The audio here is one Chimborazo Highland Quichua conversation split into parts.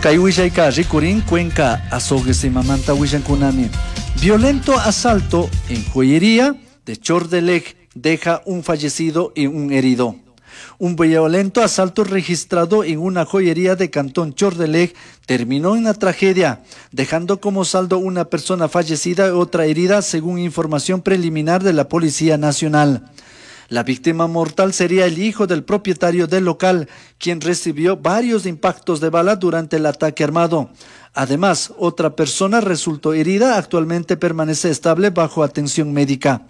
Kay willayka rikurin Cuenca Azogues imamanta willankunami. Violento asalto en joyería de Chordeleg deja un fallecido y un herido. Un violento asalto registrado en una joyería de Cantón Chordeleg terminó en una tragedia, dejando como saldo una persona fallecida y otra herida, según información preliminar de la Policía Nacional. La víctima mortal sería el hijo del propietario del local, quien recibió varios impactos de bala durante el ataque armado. Además, otra persona resultó herida, actualmente permanece estable bajo atención médica.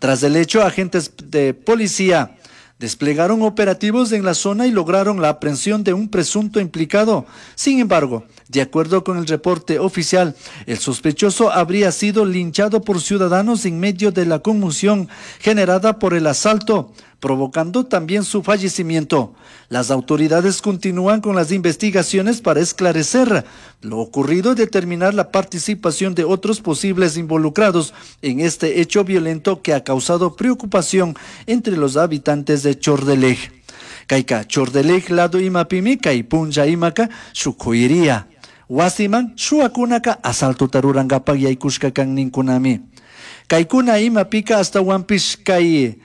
Tras el hecho, agentes de policía desplegaron operativos en la zona y lograron la aprehensión de un presunto implicado. Sin embargo, de acuerdo con el reporte oficial, el sospechoso habría sido linchado por ciudadanos en medio de la conmoción generada por el asalto, provocando también su fallecimiento. Las autoridades continúan con las investigaciones para esclarecer lo ocurrido y determinar la participación de otros posibles involucrados en este hecho violento que ha causado preocupación entre los habitantes de Chordeleg. Kayka Chordeleg lado imapimi kay punlla imaka shuk joyería. Wasiman shuwakunaka asaltota rurankapak yaykushka kan ninkunami. Kaykuna imapika ashtawanpish kay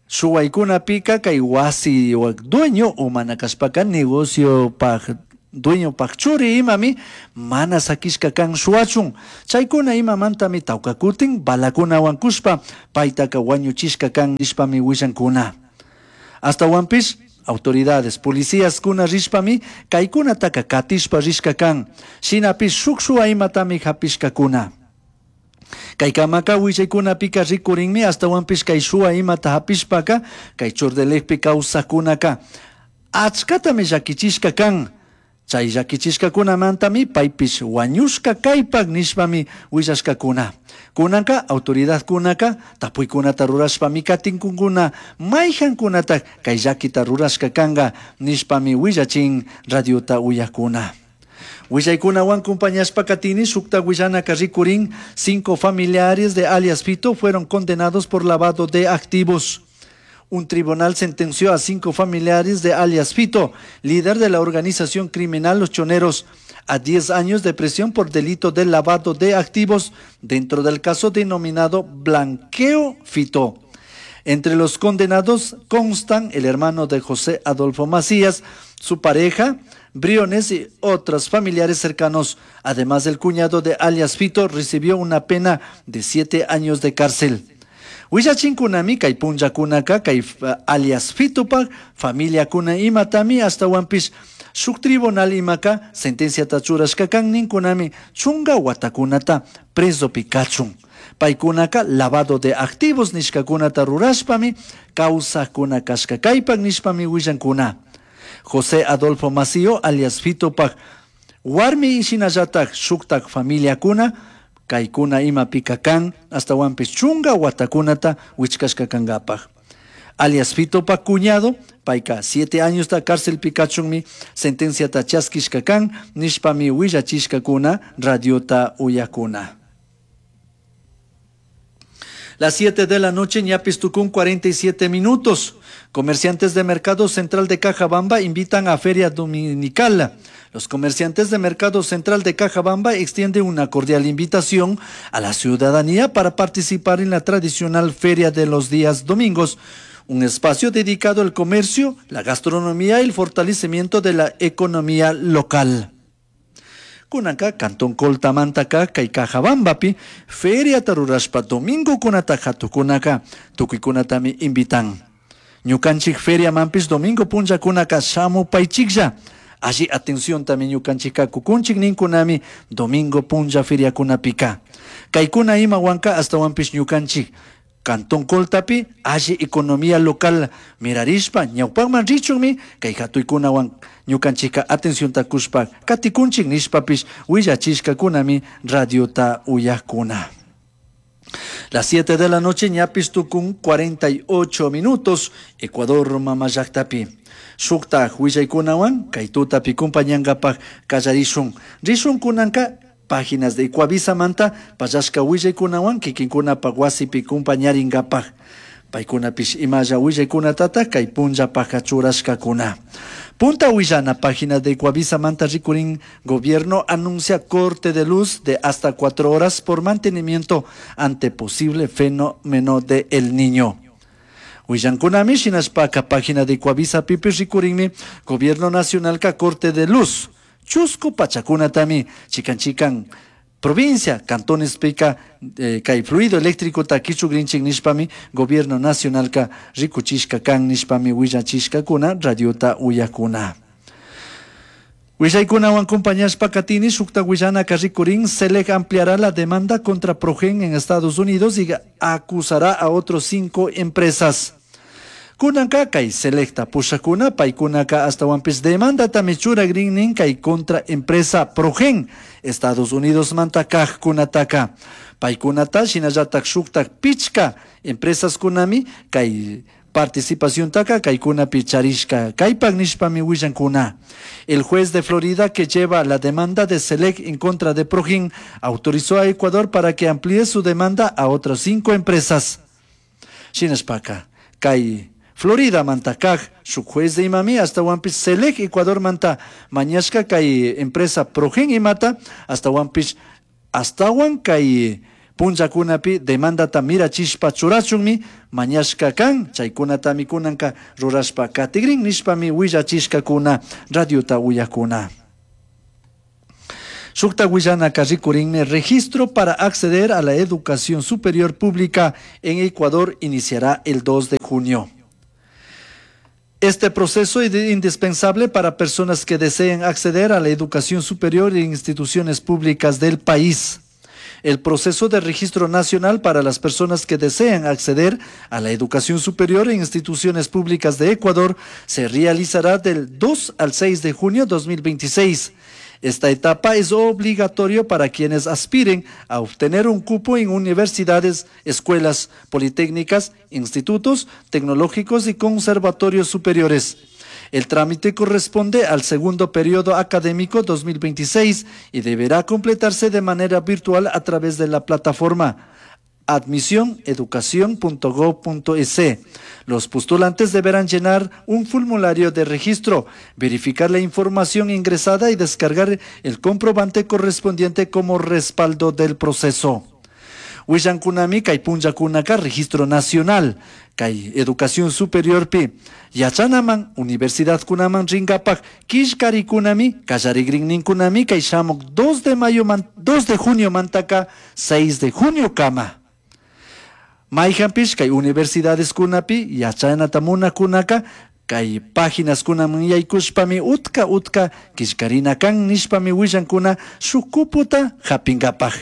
shuwaykunapika kay wasi dueño o mana kashpaka negociopak dueñopak churi imami mana sakishka kan shuwachun. Chaykuna imamantami tawka kutin balakunawan kushpa paytaka wañuchishka kan nishpami willankuna. Ashtawanpish autoridades, policías kuna rishpami kaykunataka katishpa rishka kan. Shinapish shuk shuwa imatami hapishkakuna. Kaykamaka willaykunapika rikurinmi ashtawanpish kay shuwa imata hapishpaka kay Chordelegpi kawsakkunaka achkatami llakichishka kan. Chay llakichishkakunamantami paypish wañushka kaypak nishpami willashkakuna. Kunanka autoridadkunaka tapuykunata rurashpami katinkunkuna mayjankunatak kay llakita rurashka kanka nishpami willachin radiota uyakuna. Willaykunawan compañashpa katini shukta willanaka rikurin 5 familiares de alias Fito fueron condenados por lavado de activos. Un tribunal sentenció a 5 familiares de alias Fito, líder de la organización criminal Los Choneros, a 10 años de prisión por delito de lavado de activos dentro del caso denominado Blanqueo Fito. Entre los condenados constan el hermano de José Adolfo Macías, su pareja, Briones y otros familiares cercanos. Además, el cuñado de alias Fito recibió una pena de 7 años de cárcel. Willachinkunami kay punllakunaka kay alias Fitopak familiakuna imatami ashtawanpish shuk tribunal imaka sentenciata churashka kan ninkunami chunga watakunata presopi kachun. Paykunaka lavado de activos nishkakunata rurashpami kawsakuna kashka kaypak nishpami willankuna. José Adolfo Macío alias Fitopak warmi shinallatak shuktak familiakuna kaykuna imapika kan ashtawanpish chunga watakunata wichkashka kankapak. Alias Fitopak cuñado payka 7 añosta cárcelpi kachunmi sentenciata chaskishka kan nishpami willachishkakuna radiota uyakuna. Las 7 de la noche, ñapis tukun 47 minutos. Comerciantes de Mercado Central de Cajabamba invitan a Feria Dominical. Los comerciantes de Mercado Central de Cajabamba extienden una cordial invitación a la ciudadanía para participar en la tradicional Feria de los días domingos, un espacio dedicado al comercio, la gastronomía y el fortalecimiento de la economía local. Kunanka, Cantón Coltamantaka, kay Cajabambapi, Feria tarurashpa domingo kunata hatukunaka, tukuykunatami invitan. Ñukanchik feria manpish domingo punllakunaka shamupaychiklla. Alli atención tami ñukanchikka kukunchik ninkunami domingo punlla feriakunapika. Kaykuna imawanka ashtawanpish ñukanchik Cantón Coltapi, alli economía local mirarishpa ñawpakman richunmi kay hatuykunawan ñukanchikka atencionta kushpa katikunchik nishpapish willachishkakunami radiota uyakuna. Las 7 de la noche, ñapis tukun 48 minutos, Ecuador mamallaktapi. Shukta willaykunawan kay tutapi kumpañankapak kallarishun. Rishun kunanka páginas de Ecuavisa manta pallashka willaykunawan kikinkunapak wasipi kumpañarinkapak. Paykunapish imalla willaykunatata kay punllapaka churashkakuna. Punta Huillana, página de Ecuavisa Manta rikurin, gobierno anuncia corte de luz de hasta 4 horas por mantenimiento ante posible fenómeno de El Niño. Huillankunami shinashpaka página de Ecuavisa pipi rikurinmi gobierno nacional ka corte de luz chusku pachakunatami chikan chikan provincia, cantones pika kay fluido eléctrico ta kichugrinchik nishpami gobierno nacional ka rikuchishka kan nishpami willachishkakuna radiota uyakuna. Willaykunawan acompañashpa katini shukta willanaka rikurin. Celec ampliará la demanda contra Progen en Estados Unidos y acusará a otros cinco empresas. Kunanka kay Celecta pushakuna paykunaka astawanpish demandatami churagrin kay contra empresa Progen Estados Unidos manta kajkunataka. Paykunata shinallatak shuktak pichka empresas kunami kay participación taka kaykunapi charishka kaypak nishpami willankuna. El juez de Florida que lleva la demanda de Celec en contra de Progen autorizó a Ecuador para que amplíe su demanda a otras cinco empresas. Shinashpaka kay Florida manta kaj shuk juez de imami astawanpish Celec Ecuador manta mañashka kay empresa Progen imata astawanpish astawan kay punllakunapi demandata mirachishpa churachunmi mañashka kan, chaykunatami kunanka rurashpa katigrin nishpami willachishkakuna radiota uyakuna. Shukta willanaka rikurinmi registro para acceder a la educación superior pública en Ecuador iniciará el 2 de junio. Este proceso es indispensable para personas que deseen acceder a la educación superior en instituciones públicas del país. El proceso de registro nacional para las personas que desean acceder a la educación superior en instituciones públicas de Ecuador se realizará del 2 al 6 de junio de 2026. Esta etapa es obligatorio para quienes aspiren a obtener un cupo en universidades, escuelas politécnicas, institutos tecnológicos y conservatorios superiores. El trámite corresponde al segundo periodo académico 2026 y deberá completarse de manera virtual a través de la plataforma admisioneducacion.gov.es. Los postulantes deberán llenar un formulario de registro, verificar la información ingresada y descargar el comprobante correspondiente como respaldo del proceso. Willankunami kay punllakunaka registro nacional kay educación superior pi yachanaman universidad kunaman rinkapak killkarikunami kallarigrinninkunami kay shamuk 2 de mayo man, 2 de junio mantaka 6 de junio kama. Mayhanpish kay universidades kunapi yachanata munakunaka kay páginas kunaman yaykushpami utka utka killkarina kan nishpami willankuna shuk kuputa hapinkapaj.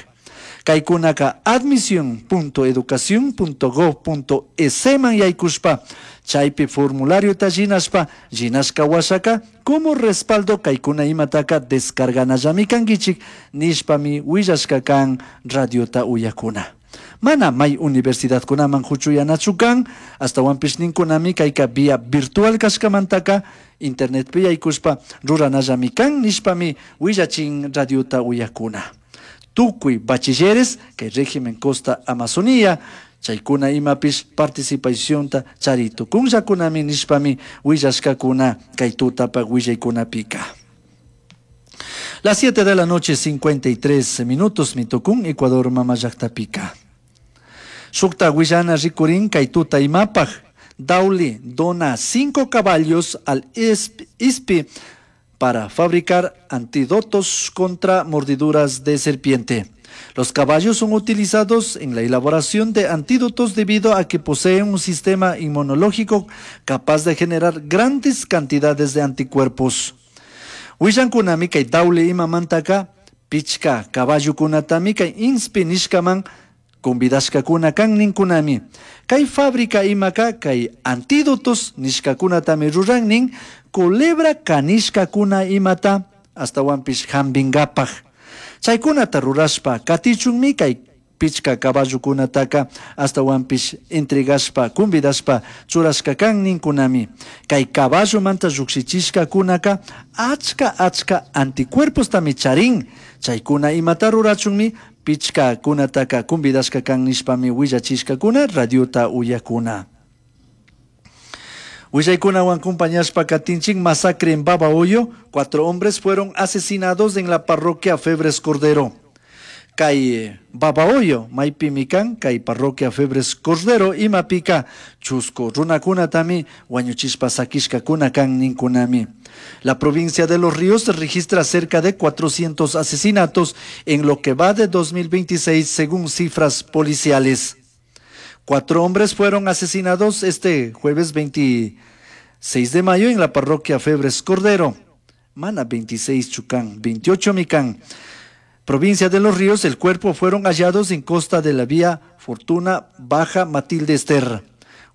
Kaykunaka admision.educacion.gov.es man yaykushpa chaypi formulariota llinashpa, llinashka washaka como respaldo kaykuna imataka descarganallami kankichik nishpami willashka kan radiota uyakuna. Mana may universidadkunaman huchuyanachu kan, astawanpish ninkunami kayka vía virtual kashkamantaka internetpi yaykushpa ruranallami kan nishpami willachin radiota uyakuna. Tukuy bachilleres kay régimen Costa Amazonía chaykuna imapish participacionta chari tukunllakunami nishpami willashkakuna kay tutapak willaykunapika. Las 7 de la noche, 53 minutos, mitukun Ecuador mama llaktapika. Shukta willana rikurin kay tuta imapaj. Dauli dona cinco caballos al ISPI para fabricar antídotos contra mordiduras de serpiente. Los caballos son utilizados en la elaboración de antídotos debido a que poseen un sistema inmunológico capaz de generar grandes cantidades de anticuerpos. Willankunami kay Daule imamantaka pichka caballokunatami kay INSPI nishkaman convidashkakuna kan ninkunami. Kay fábrica imaka kay antídotos nishkakunatami ruran nin culebra kanishkakuna imata astawanpish hambingapaj. Chaykunata rurashpa katichunmi kay pichka caballokunataka astawanpish entregashpa convidashpa churashka kan ninkunami. Kay caballomanta llukshichishkakunaka achka achka anticuerpostami charin. Chaykuna imata rurachunmi pichka kunataka convidashka kan nishpami willachishkakuna radiota uyakuna. Willaykunawan compañashpa katinchik. Masacre en Babahoyo, cuatro hombres fueron asesinados en la parroquia Febres Cordero. Kay Babahoyo maypimi kan kay parroquia Febres Cordero imapika chusku runakunatami wañuchishpa sakishkakuna kan ninkunami. La provincia de Los Ríos registra cerca de 400 asesinatos en lo que va de 2026, según cifras policiales. Cuatro hombres fueron asesinados este jueves 26 de mayo en la parroquia Febres Cordero. Mana 26 chu can, 28 mi can. Provincia de Los Ríos, el cuerpo fueron hallados en costa de la vía Fortuna Baja Matilde Ester.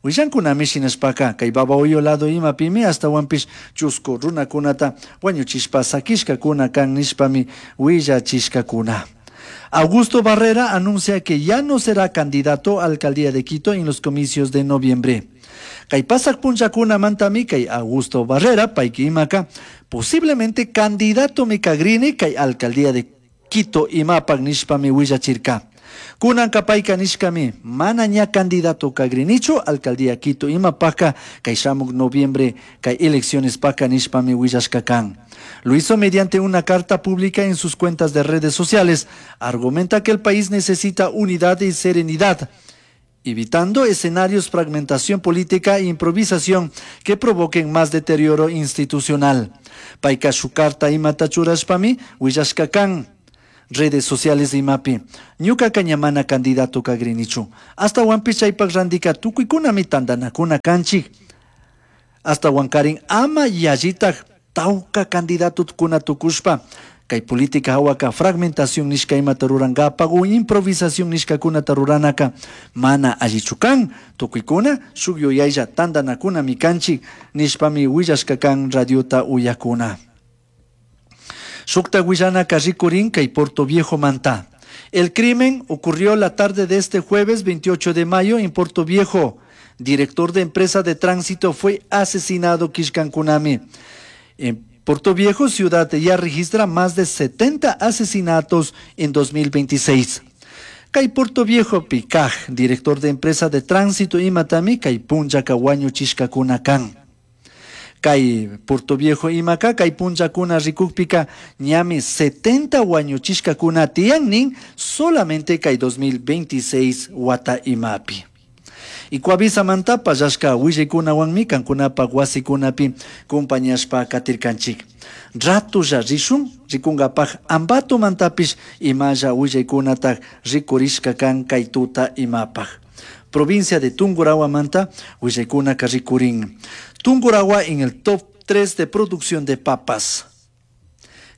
Willancunami shinashpaka kay Babahoyo lado imapimi ashtahuanpish chusku runakunata wañuchishpa sakishkakuna kan nishpami willachishkakuna. Augusto Barrera anuncia que ya no será candidato a alcaldía de Quito en los comicios de noviembre. Kay pasak punllakunamantami kay Augusto Barrera payki imaka posiblemente candidato mi kagrini kay alcaldía de Quito imapak nishpami willachirka. Kunanka payka nishkami mana ña candidato kagrinichu alcaldía Quito imapaka kay shamuk noviembre kay elecciones paka nishpami willashka kan. Lo hizo mediante una carta pública en sus cuentas de redes sociales. Argumenta que el país necesita unidad y serenidad, evitando escenarios fragmentación política e improvisación que provoquen más deterioro institucional. Payka shuk carta imata churashpami willashka kan redes sociales imapi. Ñuka ña mana candidato kagrinichu. Ashtahuanpish chaypak randika tukuikunami tandanakuna kanchik. Ashtahuankarin ama yallitak tauka candidato kuna tukushpa kay política hawaka fragmentación nishka imata rurankapak o improvisación nishkakunata ruranaka mana allichu kan. Tukuykuna shuk yuyaylla tandanakunami kanchik nishpami willashka kan radiota uyakuna. Shukta willanaka rikurin kay Portoviejo manta. El crimen ocurrió la tarde de este jueves 28 de mayo en Portoviejo. Director de empresa de tránsito fue asesinado killkankunami. En Portoviejo, ciudad ya registra más de 70 asesinatos en 2026. Kay Portoviejo Picaj, director de empresa de tránsito imatami, kay punllaka wañuchishkakuna kan. Kay Portoviejo imaka, kay punllakuna rikukpika, ñami 70 wañuchishkakuna tiyan nin, solamente kay 2026 wata imapi. Y Coavisamanta pallashka willaykunawanmi kankunapak wasikunapi compañashpa katirkanchik. Ratulla rishun rikunkapak Ambato mantapish imalla willaykunatak rikurishka kan kay tuta imapak. Provincia de Tungurahua manta willaykunaka rikurin. Tungurahua en el top 3 de producción de papas.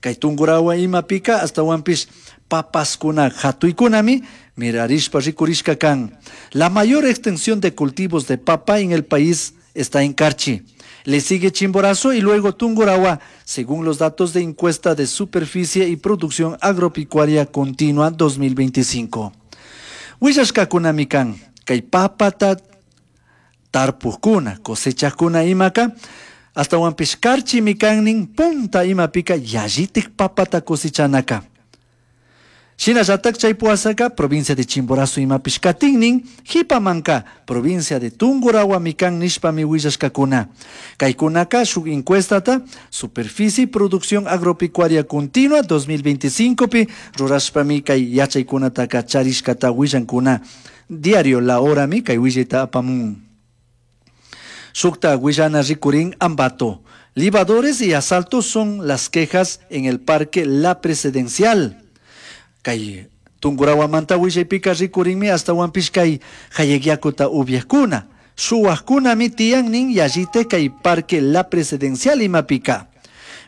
Kay Tungurahua imapika ashtahuanpish papaskuna hatuykunami mirarishpa rikurishka kan. La mayor extensión de cultivos de papa en el país está en Carchi. Le sigue Chimborazo y luego Tungurahua, según los datos de encuesta de superficie y producción agropecuaria continua 2025. Willashkakunami kan, kay papata tarpukuna, cosechakuna imaka, ashtahuanpish Carchimi kan nin punta imapika yallitik papata cosechanaka. Shinallatak chay puasaka, provincia de Chimborazo imapish katinnin, jipamanka, provincia de Tungurahua mi kan nishpami willashkakuna. Kaykunaka shuk encuestata, superficie y producción agropecuaria continua 2025 pi rurashpami kay yachaykunataka charishkata willankuna. Diario La Hora mi kay willayta apamun. Shukta willana rikurin Ambato. Libadores y asaltos son las quejas en el Parque La Presidencial. Kay Tungurahua willaypika rikurinmi ashtahuanpish kay jayegiakuta upiajkuna. Shuwajkunami tiyan nin yallite kay Parque La Presidencial imapika.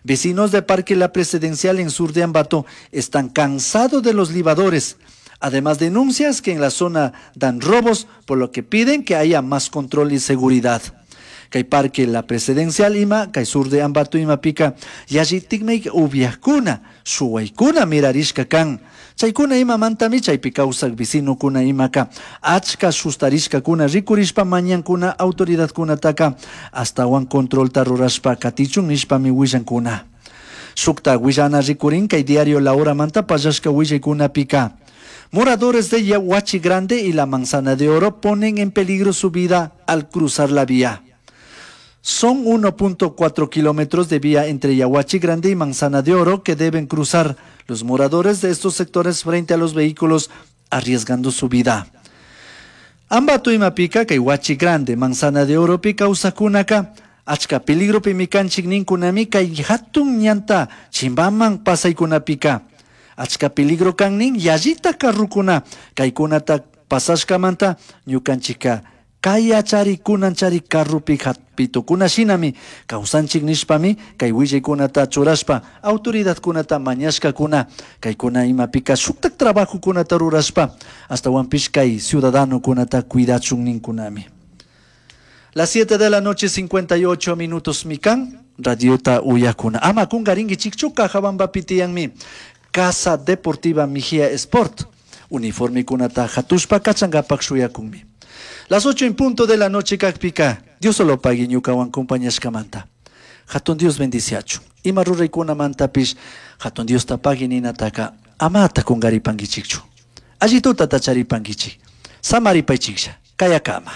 Vecinos de Parque La Presidencial en sur de Ambato están cansados de los libadores. Además denuncias que en la zona dan robos, por lo que piden que haya más control y seguridad. Kay Parque La Presidencial ima, kay sur de Ambato imapika, yallitikmi upiajkuna, shuwaykuna mirarishka kan. Chaykuna imamantami chaypi kawsak vecinokuna imaka, achka sustarishkakuna rikurishpa mañankuna autoridadkunataka ashtawan controlta rurashpa katichun nishpami willankuna. Shukta willana rikurin kay diario La Hora manta pallashka willaykunapika. Moradores de Yaguachi Grande y la Manzana de Oro ponen en peligro su vida al cruzar la vía. Son 1.4 kilómetros de vía entre Yaguachi Grande y Manzana de Oro que deben cruzar los moradores de estos sectores frente a los vehículos arriesgando su vida. Ambato imapika kay Huachi Grande, Manzana de Oro pi kawsakunaka achka peligropi kanchik ninkunami kay hatun ñanta chimbaman pasaykunapika. Achka peligro kan nin yallita carrukuna kaykunata pasashkamanta ñukanchika kayachari kunanchari carrupi hapitukuna shinami kawsanchik nishpami kay willaykunata churashpa autoridadkunata mañashkakuna kaykuna imapika shuktak trabajokunata rurashpa ashtawanpish kay ciudadanokunata cuidachun ninkunami. Las 7 de la noche 58 minutos mikan radiota uyakuna. Ama kungarinkichikchu Cajabambapi tiyanmi Casa Deportiva Mejía Sport uniformekunata hatushpa kachankapak shuyakunmi. Las 8 en punto de la noche kakpika Dios solo pagui ñukawan compañashkamanta. Hatun Dios bendiciachu. Ima ruraykunamantapish Hatun Diosta pagui ninataka amata kungaripankichikchu. Allituta tacharipankichik. Samaripaychiklla. Kayakama.